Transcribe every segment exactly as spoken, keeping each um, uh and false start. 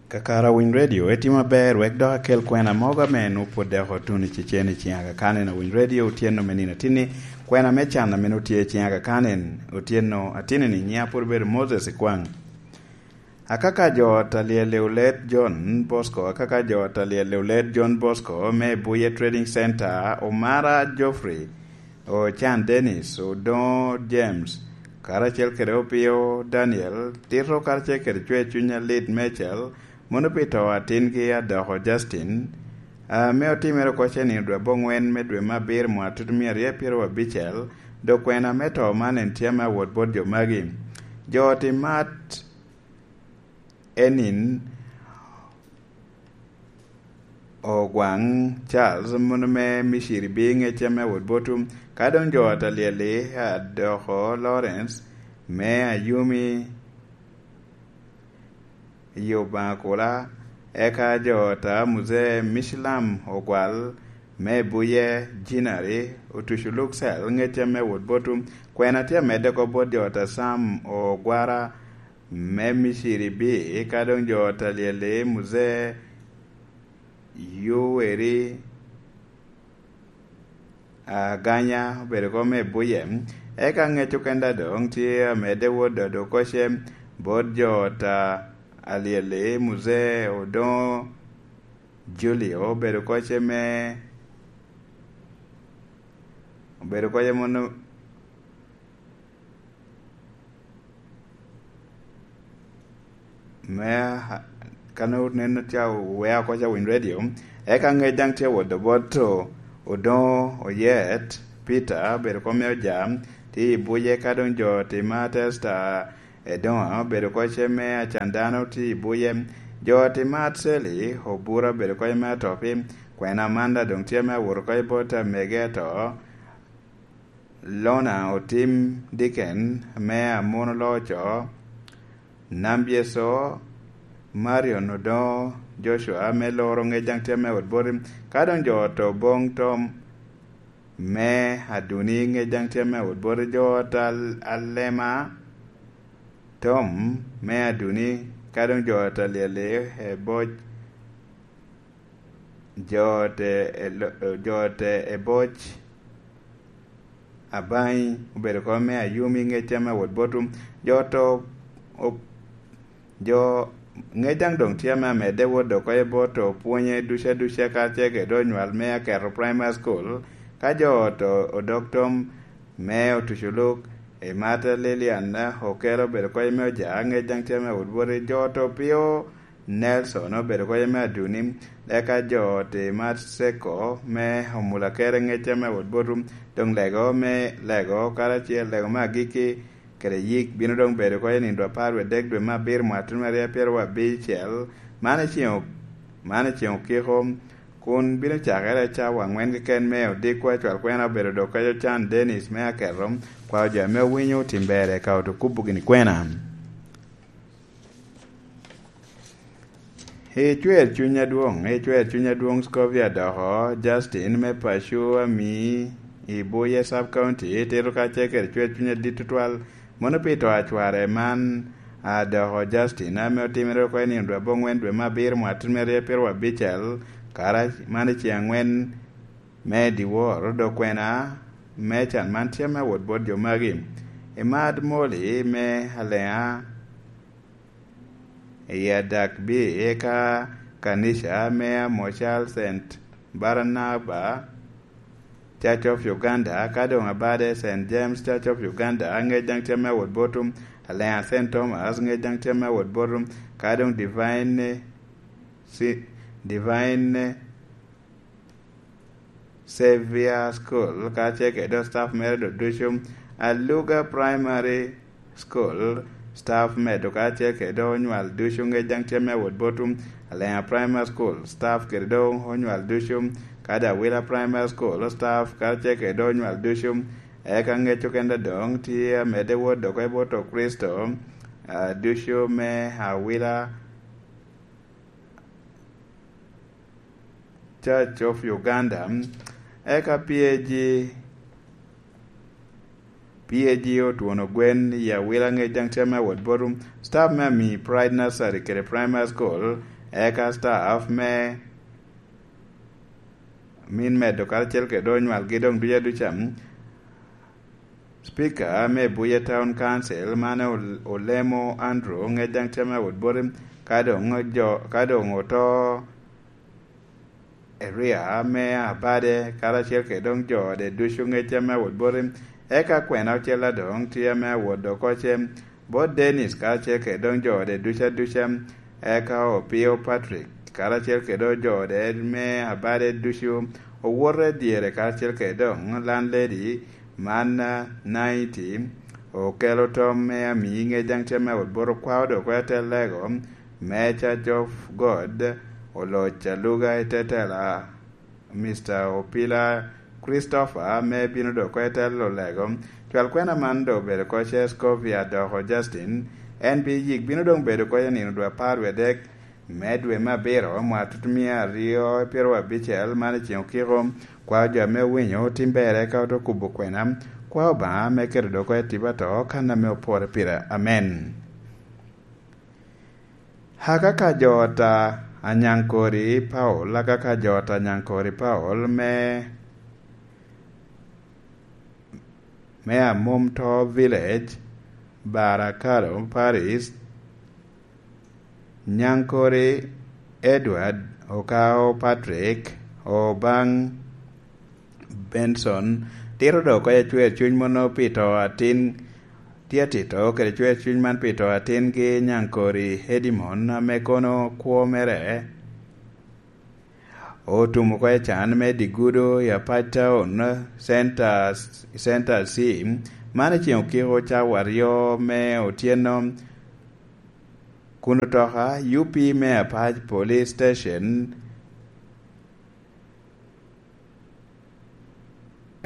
Kakare Awiny Radio, etimo aber wek dok akel kwena mogo ame nwoŋo pwod dok otuno i Cecen i ciŋ Aga Khan en. Awiny Radio, otyeno me nino atinni, kwena me can ame nwoŋo tye i ciŋ Aga Khan en, otyeno atinni, nyiŋa pwod obedo Moses Ikwaŋ. Akaka jo ot a lyel i Olet John Bosco, akaka jo ot a lyel i Olet John Bosco me Buye Trading Center, Omara Geoffrey, Ocan Dennis, Odoŋo James, karacel kede Opio Daniel, Tito karacel kede Cwer Cuny Alit Mecel, mono pi to atingi Adoko Justin, ame otimere oko ce nino dwe aboŋwen me dwe me abiro mwaka tutumia aryo pyeraryo abicel, dok kwena me to man en tye ame awot bot jo magi. Jo ot i mat enin Ogwaŋ Charles, mono me Miciri B, ŋecce me wot botu, ka doŋ jo ot a lyel-li Adoko Lawrence me Ayumi i Obaŋa Kula, eka jo ot a Muzee Micilam Ogwal me Buye Jinari, Otucu Luksel, ŋecce me wot botu, kwena tye amedde oko bot jo ot a Sam Ogwara me Miciri B, ka doŋ jo ot a lyel-li Muzee Yoweri Aganya obedo oko me Buye. Eka ŋec okenda doŋ tye amedde wot dodo koce bot jo ot a lyel-li Muzee Odoŋo Julio obedo koce me, obedo koce mono me, ka nwoŋo nen tye owea oko ca Winy Radio, eka ŋec daŋ tye wot bot Odoŋo Oyet Peter, obedo oko me Oja, tye i Buye, ka doŋ jo ot i Matesta Edoŋa obedo oko ce me Acan Dano tye i Buye, jo ot i Mat Seli Obura obedo oko ce me Atopi, kwena Amanda doŋ tye me awot oko ce bot amege ato, Lona Otim Diken me Amono Loco, Nambyeco Marion Odoŋo Joshua me Loro ŋec daŋ tye me wot boti, ka doŋ jo ot Oboŋ Tom me Aduni ŋec daŋ tye me wot boti, jo ot Al-, Alema Tom me Aduni, ka doŋ jo ot a lyel-li Eboc, jo ot e lo-, jo ot Eboc Abaŋi obedo oko me Ayumi ŋec tye me wot botu, jo ot o-, jo ŋec daŋ doŋ tye ame amedde wot oko ce bot opwonye ducu aduca, karacel kede onywal me Aketo Primary School, ka jo ot o-, Odok Tom me Otucu Luk, i Mata Lilian Okelo obedo oko ce me Oja, ŋec daŋ tye me wot boti, jo ot Opio Nelson obedo oko ce me Aduni, eka jo ot i Mat Seko me Omulakere ŋec tye me wot botu, doŋ lego me lego karacel, lego me agikki kede yik bino doŋ bedo oko ce nino dwe apar wie dek dwe me abiro mwaka tutumia aryo pyeraryo abicel, man i ceŋ o-, man i ceŋ okiko, kun bino cakere cawa aŋwen keken me odiko. Acwal kwena obedo dok oko ce Ocan Dennis me Aketo, kwao jo ame owinyo otim ber eka oto kubo gini kwena. I Cwer Cuny Adwoŋ, i Cwer Cuny Adwoŋ Scovia Adoko Justin me paco Ami i Buye Sub County, tito karacel kede Cwer Cuny adit tutwal, mono pi to a cware man Adoko Justin, ame otimere oko i nino dwe aboŋwen dwe me abiro mwaka tutumia aryo pyeraryo abicel, kara man i ceŋ aŋwen me dyewor, dok kwena me can man tye me wot bot jo magi. I Mad Moli me Aleŋa, i Adak B, eka kanica me Amocal Saint Barnaba Church of Uganda, ka doŋ abade Saint James Church of Uganda, ŋec daŋ tye me wot botu, Aleŋa Saint Thomas, ŋec daŋ tye me wot botu, ka doŋ Divine, si-, Divine Saviour School, kacel kede staff mere do ducu, Aluga Primary School, staff me do kacel kede onywal ducu, ŋec daŋ tye me wot botu, Aleŋa Primary School, staff kede do onywal ducu, kadi Awila Primary School, staff kacel kede onywal ducu, eka ŋec okenda doŋ tye amedde wot dok i bot Okricito, ah, ducu me Awila Church of Uganda, eka P A G, P A G Otwono Gwen i Awila, ŋec daŋ tye me wot botu, staff me Ami Pride Nursery kede Primary School, Eka staff me min medo karacel kede onywalgi doŋ duca duca. Speaker me Buye Town Council, mane Ol-, Olemo Andrew, ŋec daŋ tye me awot boti, ka doŋ jo, ka doŋ oto Eria me Abade, karacel kede doŋ jo ode ducu ŋec tye me awot boti. Eka kwena ocel adoŋ tye me awot dok oce bot Dennis, karacel kede doŋ jo ode duca duca. Eka Opio Patrick, karacel kede doŋ jo ode me Abade ducu, owote dyere, karacel kede doŋ landlady man, ah, Naiti, okelo tom me amii ŋec daŋ tye me awot boti, okwao dok kwena te lego me Church of God, oloc aluga i te tela Mister Opila Christopher, ame bino dok oko i telo lego. Cwal kwena man doŋ obedo oko ce Scovia Doko Justin, en pi yik bino doŋ bedo oko i nino dwe apar wie adek me dwe me abiro, mwaka tutumia aryo pyeraryo abicel, man i ceng okiko. Kwao jo ame owinyo tim berre ka ote kubo kwena, kwao Obaŋa me keto dok oko i tipo ato kan ame opore pire. Amen. Akaka jo ot a Anyaŋkori Paul, akaka jo ot a Anyaŋkori Paul me, me Amomto Village, Barakalo Paris, Nyaŋkori Edward, Okao Patrick, Obaŋ Benson, tito dok oko i acwer cuny mono pi to atin, tye atito kede cwer cuny man pi to atingi Nyaŋkori Edimon, ame kono kwo mere otum oko i can me Digudo i Apac Town, Center, Center C, man i ceng okiko cawa aryo me otyeno, kun otoka U P me Apac Police Station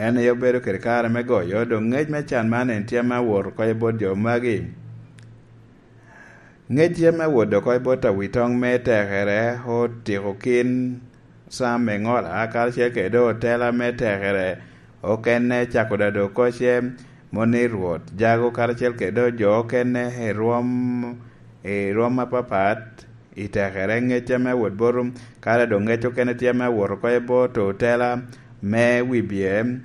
en aye obedo kede kare me goyo, doŋ ŋec me can man en tye ame awot oko i bot jo magi. Ŋec tye ame awot oko i bot awitoŋ me tekere, otiko kin Sam Eŋola, karacel kede otela me tekere okene, cako dado koce, moni Rwot Jago, karacel kede jo okene i rwom, i rwom apapat. I tekere ŋec tye me wot bot, kara doŋ ŋec okene tye me wot oko i bot otela me wibye,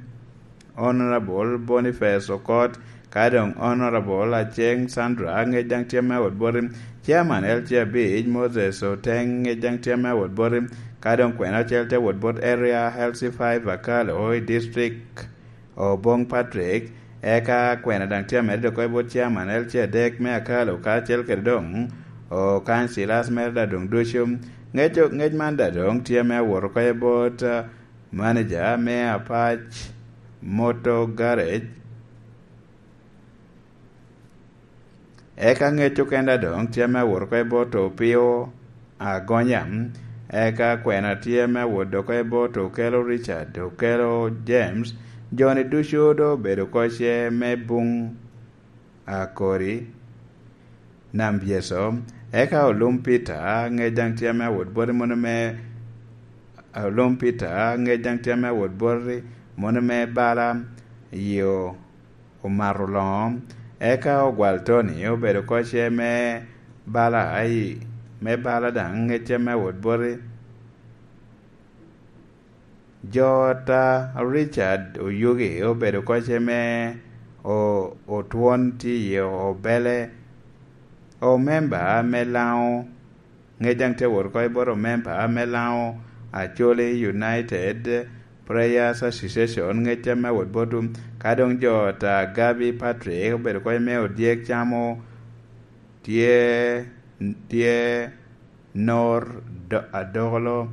Honorable Boniface Okot, ka doŋ Honorable Aceng Sandra, ŋec daŋ tye me wot bot, Chairman L C abic Moses Oteng, ŋec daŋ tye me wot bot, ka doŋ kwena ocel tye wot bot Area L C five Akalo i district. Oboŋ Patrick, eka kwena daŋ tye amedde oko i bot Chairman L C adek me Akalo, karacel kede doŋ Okany Silas mere daŋ doŋ ducu. Ŋec, ŋec man daŋ doŋ tye me awot oko i bot, ah, manager me Apac Motor Garage. Eka ŋec okenda doŋ tye me awot oko i bot Opio Agonya, eka kwena tye me awot oko i bot Okelo Richard, Okelo James, jo-ni ducu doŋ obedo oko ce me buŋ Akori, Nam Byeco, eka Olum Peter, ŋec daŋ tye me awot boti mono me, Olum Peter, ŋec daŋ tye me awot boti mono me bala, yo omato loŋo, eka Ogwal Tony obedo oko ce me bala, ai, me bala daŋ ŋec tye me awot boti. Jo ot a Richard Oyugi obedo oko ce me o-, Otwon tye i Obele, omemba me Laŋo, ŋec daŋ tye wot oko i bot omemba me Laŋo Acholi United Prayers Association, ŋec tye me wot bot, ka doŋ jo ot a Gabi Patrick obedo oko me Odyek Camo, tye, tye Nor Do-, Adokolo.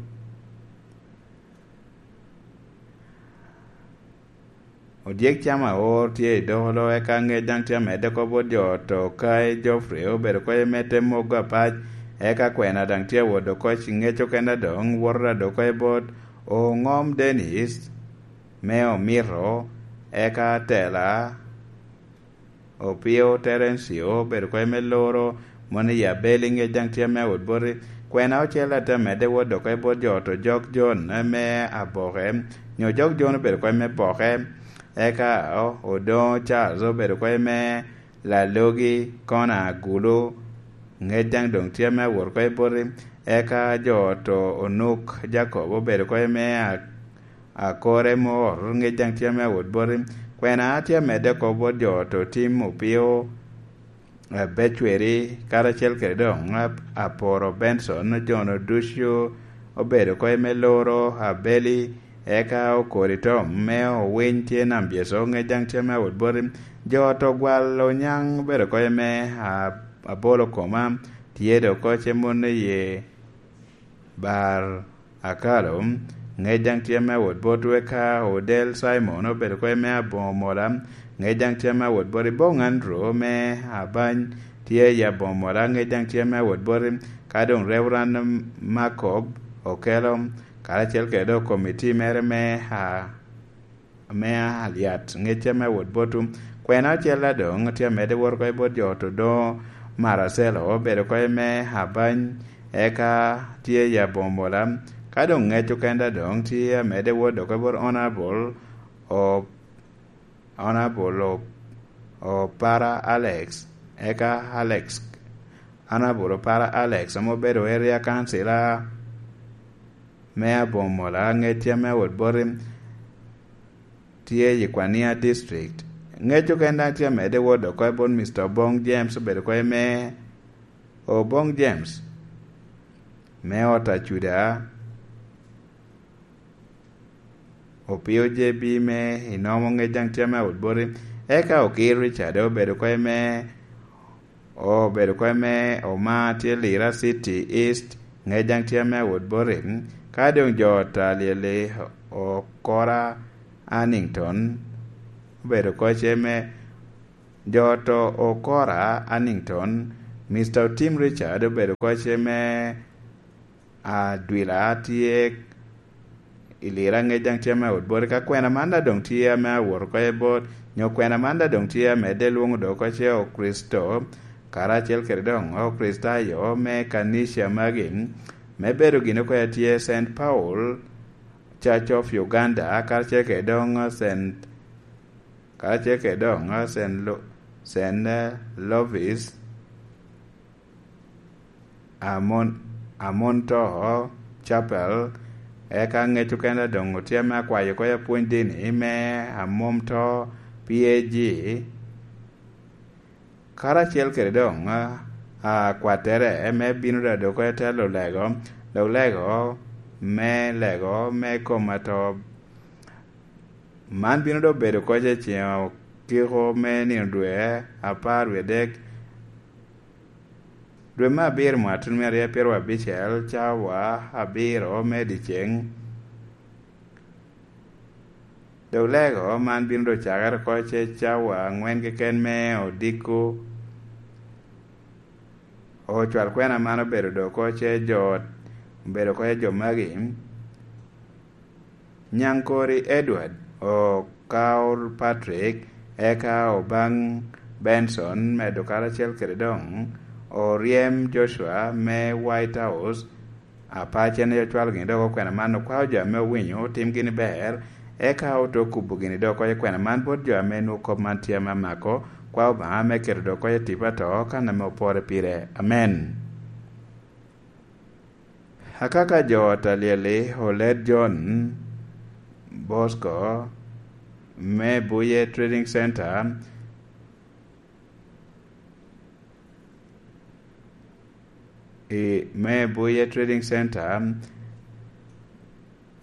Odyek Camo aor tye i Dokolo, eka ŋec daŋ tye amedde oko bot jo ot a Okai Geoffrey obedo oko i mete mogo apac, eka kwena daŋ tye awot oko i ŋec okene doŋ woto dok oko i bot Oŋom Dennis me Omito, eka Tela Opio Terencio obedo oko i me Loro, mono i Abeli, ŋec daŋ tye me awot boti. Kwena ocel atte amedde wot dok oko i bot jo ot a Ojok John me Aboke, nyo Ojok John obedo oko i me Boke, eka o-, Odoŋo Charles obedo oko i me Lalogi, Kona Agulu, Ŋec daŋ doŋ tye ame awot oko i boti, eka jo oto onuk Jakobo obedo oko i me a-, akore mor, ŋec daŋ tye ame awot boti. Kwena tye amedde oko bot jo oto tim opio, eh, becweri, karacel kede doŋ ap-, aporo Benson, ojono ducu obedo oko i me loro abeli, eka okori tom me owiny tye nam byeco, ŋec daŋ tye ame awot boti. Jo oto gwalo nyaŋ obedo oko i me a-, abolo koma, tye doŋ oko ce mon i ye bar akalo, ŋec daŋ tye ame awot bot weka odel Cimon obedo oko i me aboŋo mola, ŋec daŋ tye ame awot bot i boŋ Andrew me abany tye i aboŋo mola, ŋec daŋ tye ame awot bot i ka doŋ Reverend Makob okelo, karacel kede doŋ komiti mere me a-, ame alyat, ŋecce me wot botwu. Kwena ocel adoŋ tye amedde wot oko i bot jo oto doŋo Maracelo, obedo oko i me abany, eka tye i aboŋo mola. Ka doŋ ŋec okende adoŋ tye amedde wot oko i bot Honorable O-, Honorable O-, Opara Alex, eka Alex, Honorable Opara Alex, ame obedo area councilor me aboŋo mola, ŋec tye ame wot boti tye i Kwania District. Ŋec okene daŋ tye amedde wot oko i bot Mister Obong James, obedo oko i me, Obong James me ot Acuda, Opio J B me Inomo, ŋec daŋ tye ame awot boti. Eka Okir Richard obedo oko i me, obedo oko i me Oma tye Lira City East, ŋec daŋ tye ame awot boti. Ka doŋ jo oto alyel-li, Okora Annington obedo oko ce me, jo oto Okora Annington, Mister Otim Richard obedo oko ce me Adwila tye i Lira, ŋec daŋ tye ame awot boti. Ka kwena man daŋ doŋ tye ame awot oko i bot, nyo kwena man daŋ doŋ tye amedde lwoŋo doŋ oko ce Okricito, karacel kede doŋ Okricitayo me kanica magi, me bedo gin oko tye Saint Paul Church of Uganda, karacel kede doŋ Saint, karacel kede doŋ Saint Lo-, Saint Lovis Amon, Amon To Chapel, eka ŋec okene doŋ otye ame akwayo oko i apwony dini me Amon To P A G, karacel kede doŋ, a, akwattere me bino daŋ dok oko i te lulego, dok lego me lego me kom ato. Man bino doŋ bedo oko i ceŋ okiko me nino dwe apar wie adek, dwe me abiro mwaka tuno me aryo pyeraryo abicel, cawa abiro me dyeceŋ. Dok lego man bino doŋ cakere oko ce cawa aŋwen keken me odiko. Ocwal kwena man obedo doŋ oko ce jo, obedo oko ce jo magi. Nyaŋkori Edward, Okaor Patrick, eka Obaŋ Benson, medo karacel kede doŋ Oryem Joshua me White House, Apacen aye ocwalo gini doŋ oko kwena man, okwao jo ame owinyo, otim gini ber, eka ote kubo gini doŋ oko kwena man bot jo ame nwoŋo kop man tye ame amako, kwao Obaŋa me keto doŋ oko i tipo ato, kan ame opore pire. Amen. Akaka jo ot alyel-li, Oled John Bosco, me Buye Trading Center, i, me Buye Trading Center,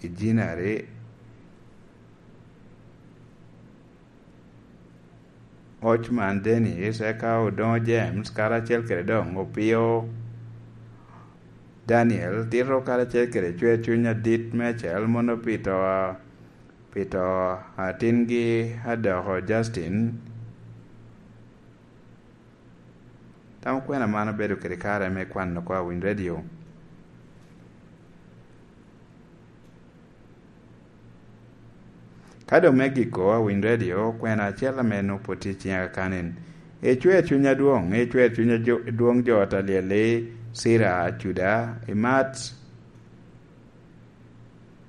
i Jinari, Ochman Dennis, eka Odoŋo James, karacel kede doŋ Opio Daniel, tito karacel kede Cwer Cuny Adit Mecel, mono Pito, Pito atingi Adoko Justin. Tam kwena man obedo kede kare me kwano oko Awiny Radio. Ka doŋ me giko, Awiny Radio, kwena acel ame nwoŋo pwod tye i ciŋa kakanin. Icwer cuny adwoŋ, icwer cuny adwoŋ jo ot alyel-li, Cira Acuda, imat,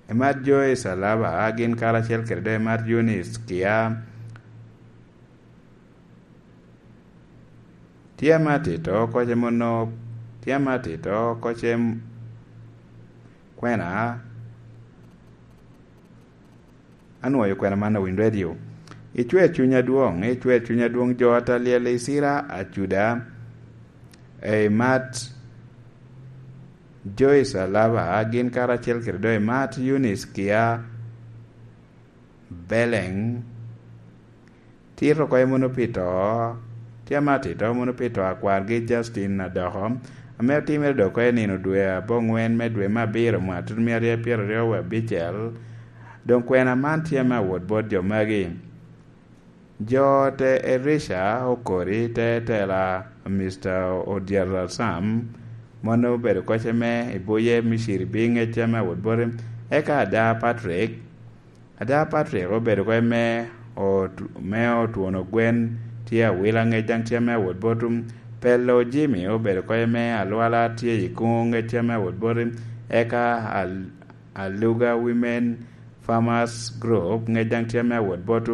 imat jo i Calaba, gin karacel kede doŋ imat Eunice Kia, Tye ame atito kocce mono, tye ame atito kocce m-, kwena, anwoyo kwena man a Winy Radio. Icwer cuny adwoŋ, icwer cuny adwoŋ jo Ataliel i Cira Acuda, ei Mat Joyce Alaba, gin karacel kede doŋ i Mat Eunice Kia Beleng, tito oko mono pi to, tye ame atito mono pi to a kwargi Justin Adoko, ame otimere dok oko i nino dwe aboŋwen me dwe me abiro mwaka tutumia aryo pyeraryo wie abicel. Doŋ kwena man tye ame awot bot jo magi. Jo te Elisha okori te tela Mister Odiel Sam, mano obedo kocce me i Buye Miciri bi ŋecce me awot boti, eka ada Patrick, Ada Patrick obedo kede me ot-, me otwono gwen tye awila ŋec daŋ tye me awot bot. Pelo Jimmy obedo kede me alwala tye i kuŋo ŋec tye me awot bot. Eka Al-, Aluga Women Farmers Group ŋec daŋ tye me awot bot.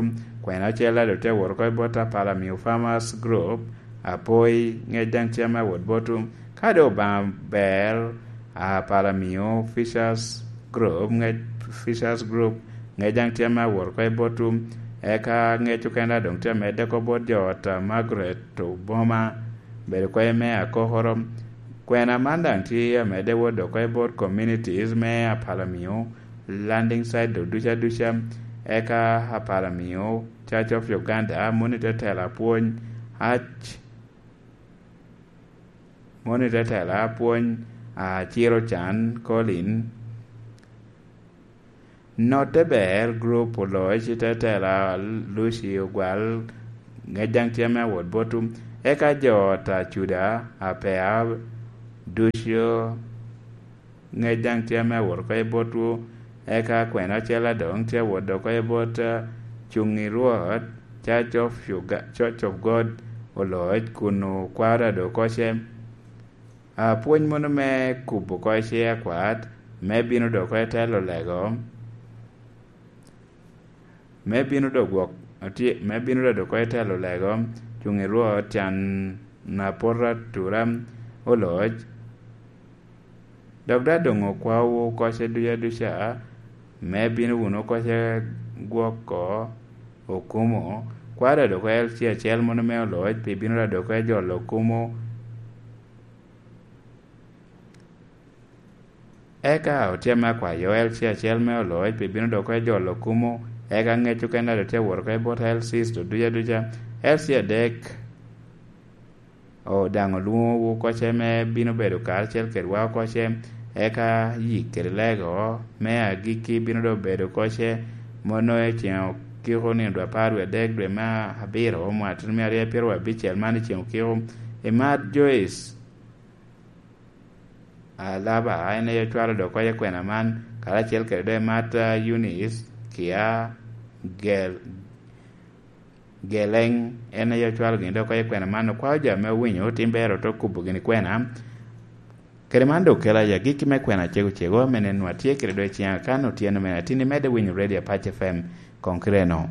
Kwena ocel ado tye awot oko i bot Apala Miyo Farmers Group, Apoi ŋec daŋ tye me awot bot. Ka doŋ Obaŋa ber, Apala Miyo Fishers Group, ŋec, Fishers Group, ŋec daŋ tye ame awot oko i botwu, eka ŋec okene daŋ doŋ tye amedde oko bot jo ot a Margaret Oboma, bedo oko i me akokoro. Kwena man daŋ tye amedde wot oko i bot communities me Apala Miyo, landing site doŋ duca duca, eka Apala Miyo Church of Uganda, moni te tela pwony, Arch Moni te tela pwony, a, Ciro Can Colin. Notte ber, group oloc te tela Lucy Ogwal, ŋec daŋ tye ame awot botwu. Eka jo ot a Cuda, a Pea, ducu, ŋec daŋ tye ame awot oko i botwu, eka kwena ocel adoŋ tye awot oko i bot, eh, cuŋ i Rwot, Church of Uga-, Church of God Oloc, kun okwaro ado kocce. Ah, pwony mono me kubo kocce akwat, me bino doko i telo lego. Me bino dok gwok, atye, me bino dok oko i telo lego, cuŋ i Rwot, can na poto atura, Oloc. Dok daŋ doŋ okwaowu kocce duca duca, me bino wunu kocce gwoko okumo, kwaro dok oko L C acel mono me Oloc, pi bino dok oko jolo okumo. Eka otye me akwayo L C acel me Oloc pi bino dok oko jolo okumo, eka ŋec okene daŋ tye wot oko i bot L Cs ducu aduca. L C adek, o, daŋ olwoŋowu kocce me bino bedo karacel kedwa kocce, eka yik kede lego me agikki bino dok bedo kocce, mono i ceŋ okiko nino dwe apar wie adek dwe me abiro mwaka tutumia aryo pyeraryo abicel man i ceŋ okiko. I Mat Joyce Alaba, en aye ocwalo dok oko i kwena man, karacel kede doŋ Mat, ah, Eunice Kia Gel-, Geleng, en aye ocwalo gin dok oko i kwena man, okwao jo ame owinyo tim ber ote kubo gini kwena. Kede man dok kela i agikki me kwena cego cego, ame nen nwa tye kede doŋ i ciŋa kan otyeno me atin, imedde winyo Radio Apac F M, koŋ kite-nu.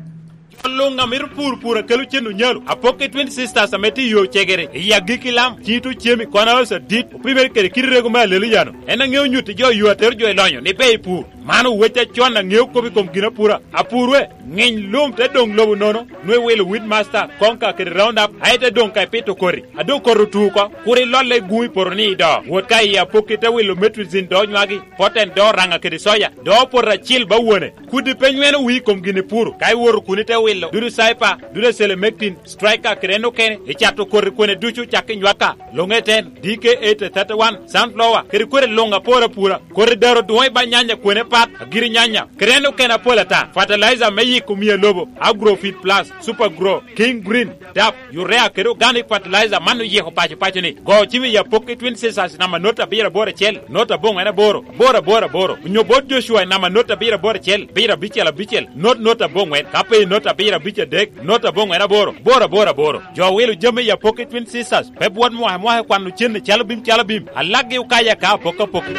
Jo luŋ a mito pur, pur a kelo cen onyalo, apokke Twin Sisters ame tye i yo cegere, i agikki lam, cito cemi, kono aoc adit, opimere kede kit rego me alelo yano. En aŋeo nyutti jo yo atero jo i lonyo ni ber i pur. Man owec acon aŋeo kop i kom ginapura. Apur we, ŋiny lum te doŋ lobo nono, nwe wilo Weedmaster, Konka kede Roundup, aye te doŋ ka ipito koti. A doŋ koti otu oko, kur ilolle i guŋ i poto ni i do. Wot ka i apokki te wilo Metrizin do nywagi, Poten do Oraŋa kede Soya, do Opot acil ba wone. Kudi pe nyweno wii i kom gin ipuro, ka iwoto kun ite wilo dudu Cyper, dudu Selemectin, Striker kede en okene, icato koti kwene ducu cak i nywaka, Longeten, D K eight thirty-one, Sunflower, kede kwene luŋ apor apura, koti daro dwoŋ i ba nyanya kwene pat, agiri nyanya, kede en okene apol ata, fertilizer me yiko miya lobo, Agrofit Plus, Super Grow, King Green, dap, urea kede organic fertilizer man oyiko paco paco ni. Go cim i apokki Twin Sisters namba not abiro aboro acel, not aboŋwen aboro, aboro aboro aboro. Onyo bot Joshua i namba not abiro aboro acel, abiro abicel abicel, not not aboŋwen. Ka pe i not abiro abic adek, not aboŋwen aboro, aboro aboro aboro. Jo wilo jami i apokki Twin Sisters, pe bwot mwaka mwaka kwano cen i calo bim calo bim. Alakgi okaya ka apokki apokki.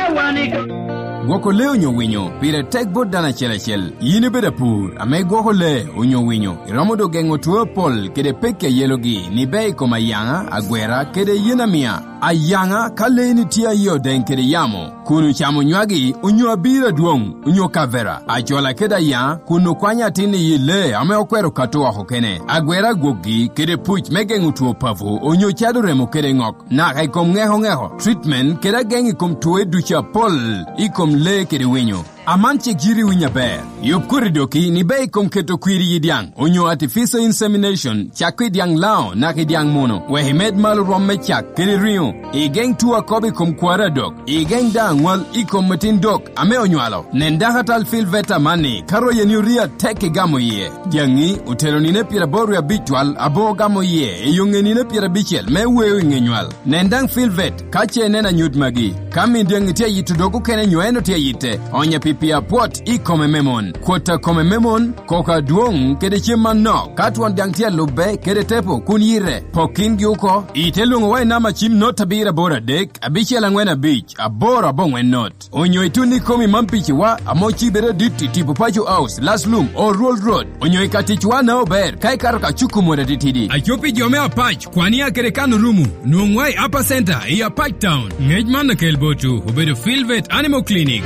Gwoko lee onyo winyo pire tek bot dano acel acel. Yin ibedo apur ame igwoko lee onyo winyo, iromo doŋ geŋo two apol kede pekki a yelogi ni bea i kom ayaŋa, agwera, kede yen amia. Ayaŋa, ka leeni tye aye odeŋ kede yamo, kun ocamo nywagi onyo abiro adwoŋ, onyo kavera, ajola kede ayaŋa, kun okwanyo atin i yi lee ame okwero kato oko kene, agwera agwokgi kede puc me geŋo two papo onyo cado remo kede ŋok, naka i kom ŋeko ŋeko, treatment kede ageŋ i kom twoe ducu apol i kom lee kede winyo. Aman cik yiti winyo aber. Yub koti doki ni bea i kom keto kwir i yi dyaŋ, onyo artificial insemination, cakko i dyaŋ Laŋo naka i dyaŋ Muno, wek imed malo rwom me cak kede riŋo. Igeŋ two akobo i kom kwari adok. Igeŋ daŋ aŋwal i kom metin dok ame onywalo. Nen dakatal Filvet amanni ka royeni orii atek igamo iye. Dyaŋi otelo nino pyeraboro wie abic twal aboŋo gamo iye i yo ŋe nino pyerabicel me weo i ŋe nywal. Nen daŋ Filvet ka ce ineno anyut magi. Ka min dyaŋi tye ayito dog okene nyo en otye ayite, onya pi pii apwot i kome me mon. Kwot a kome me mon, koko adwoŋ kede cem manok. Ka twon dyaŋ tye alubbe kede tepo kun yite, pok kingi oko. Ite lwoŋowa i namba cim not abiro aboro adek, abicel aŋwen abic, aboro aboŋwen not. Onyo itun i komi man piciwa ame ocibere adit i tipo Paco House, Laslum, Oruol Road, onyo i ka ticwa na ober ka ikato ka cuko mot atitidi. Aco pi jo me Apac, Kwania kede Kano Rumu, nwoŋwa i Upper Center i Apac Town. Ngec man akel botwu obedo Filvet Animal Clinic.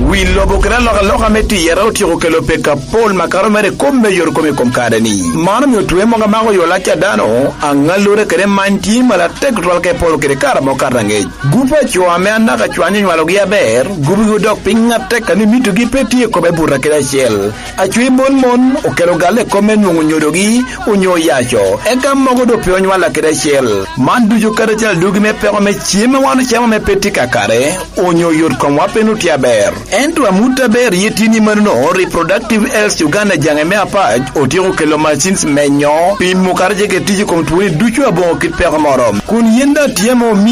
Wi lobo kede alokaloka me tiyere otyeko kelo pek apol makato mere i kom me yore kom i kom kare-ni. Man omio twe mogo amako yo lac a dano, aŋallure kede many tye malo atek tutwal ka iporo kede kare ame okato angec. Gup a co ame anaka cwany onywalogi aber, gubigi odok piny atek a ni mitogi pe tye i kome buto kede acel. Acwiny mon mon okelo galle i kop me nwoŋo nyodogi onyo yaco, eka mogo doŋ pe onywalla kede acel. Man ducu kadi acel adugi me peko me cem a wan ocamo ame pe tye kakare, onyo yot komwa pe nwoŋo tye aber. Ento amut aber ye tye ni manono, Reproductive Health Uganda jaŋe me Apac otyeko kelo machines menyo, pimo kadi ce kede tic i kom twoni ducu aboŋo kit peko moro. Kun yin daŋ tye ame